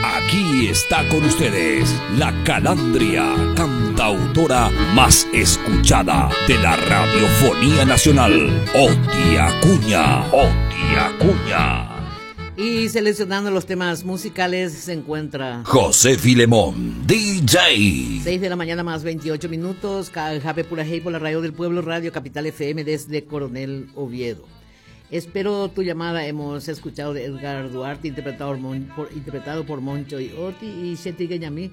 Aquí está con ustedes la calandria, cantautora más escuchada de la Radiofonía Nacional, Oti Acuña. Oti Acuña. Y seleccionando los temas musicales se encuentra José Filemón, DJ. 6 de la mañana más 28 minutos, Jape Purajey por la radio del pueblo, Radio Capital FM desde Coronel Oviedo. Espero tu llamada. Hemos escuchado de Edgar Duarte, interpretado por, interpretado por Moncho y Oti, y Seti Gueñamí,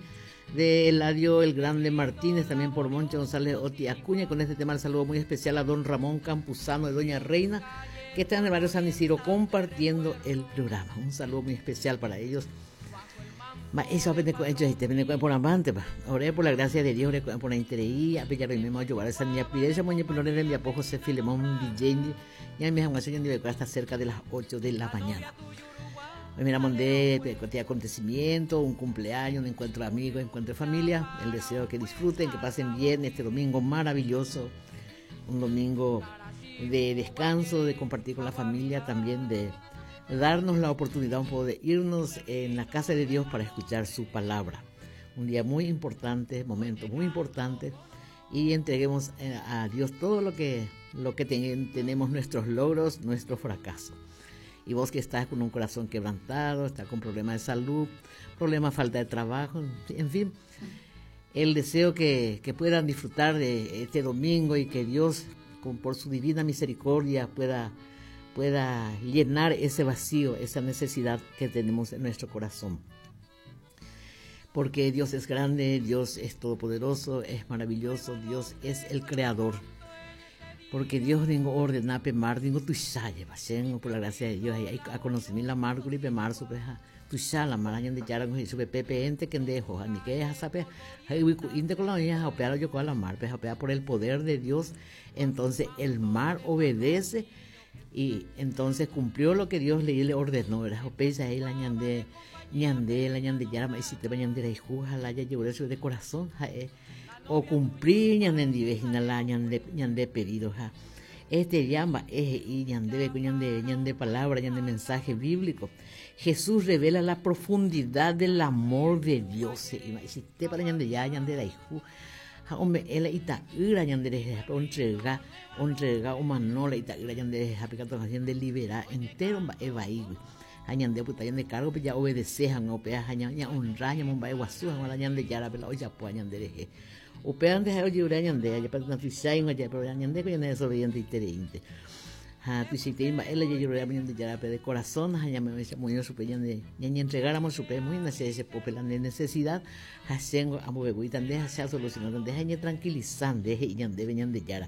de Eladio El Grande Martínez, también por Moncho González Oti Acuña. Con este tema el saludo muy especial a don Ramón Campuzano de Doña Reina, que están en el barrio San Isidro compartiendo el programa. Un saludo muy especial para ellos. Eso por amante, Oré por la gracia de Dios, oré por la intereía, mismo ayudar esa niña pide moñe por de mi apoyo José Filemón DJ, ya me han hasta cerca de las 8 de la mañana. Hoy miramos de acontecimiento, un cumpleaños, un encuentro de amigos, encuentro de familia. El deseo que disfruten, que pasen bien este domingo maravilloso, un domingo de descanso, de compartir con la familia, también de darnos la oportunidad un poco de irnos en la casa de Dios para escuchar su palabra. Un día muy importante, momento muy importante, y entreguemos eh, a Dios todo lo que, lo que tenemos, nuestros logros, nuestros fracasos. Y vos que estás con un corazón quebrantado, estás con problemas de salud, problemas, falta de trabajo, en fin, el deseo que, que puedan disfrutar de este domingo y que Dios, con, por su divina misericordia, pueda pueda llenar ese vacío, esa necesidad que tenemos en nuestro corazón. Porque Dios es grande, Dios es todopoderoso, es maravilloso, Dios es el creador. Porque Dios ningo ordena pe mar, ningo tuichaye, por la gracia de Dios, hay a conocer la mar, pe mar, tuicha la mar, de yara, con pepe ente que dejo, ni que es sabe, inde con la oña, yo con la mar, por el poder de Dios, entonces el mar obedece y entonces cumplió lo que Dios le, le ordenó, ¿verdad? Opeisa ahí la ñande, ñande, la ñande yara, y si te vayan de la la ya llevó eso de corazón, jae, o cumplir ñande ndivejina la ñande, ñande pedido, ja. Este llama es y ñande, ñande, ñande palabra, ñande mensaje bíblico. Jesús revela la profundidad del amor de Dios. Y si te para ñande ya, ñande la hijo, ha ome'ẽ la ita'ýra ñande rehehápe ontrega, ontrega omano la ita'ýra ñande rehehápe katu ha ñande libera entero mba'e vaígui. Ha ñande opyta ñande cargo-pe ja obedece hag̃ua upéva ha ña'onrra ñamomba'eguasu hag̃ua la Ñandejárape la ojapóva ñande rehe. Upévante ha'e ojeruréva ñande, ajépa natuichaig̃ua ja'e, pero ñandéko ñane desobedienteitereínte. Ha tuichaitei mba'e la jajeruréva Ñandejárape de corazón ha ñamoĩrõ chupe ñande ñañentregáramo chupe muy nache che pópe la nde necesidad ha chéngo ambovevúita nde ha che asolucionáta nde ha eñetranquiliza nde he'i ñandéve Ñandejára.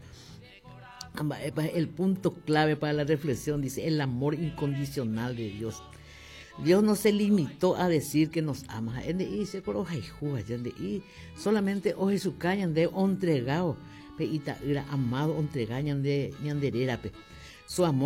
Ha mba'épa el punto clave para la reflexión dice el amor incondicional de Dios. Dios no se limitó a decir que nos ama. Ha'e nde'i che ko rohayhu aja nde'i solamente ohechuka ñande ontregao pe ita'ýra amado ontrega ñande ñande rérape. Su amor.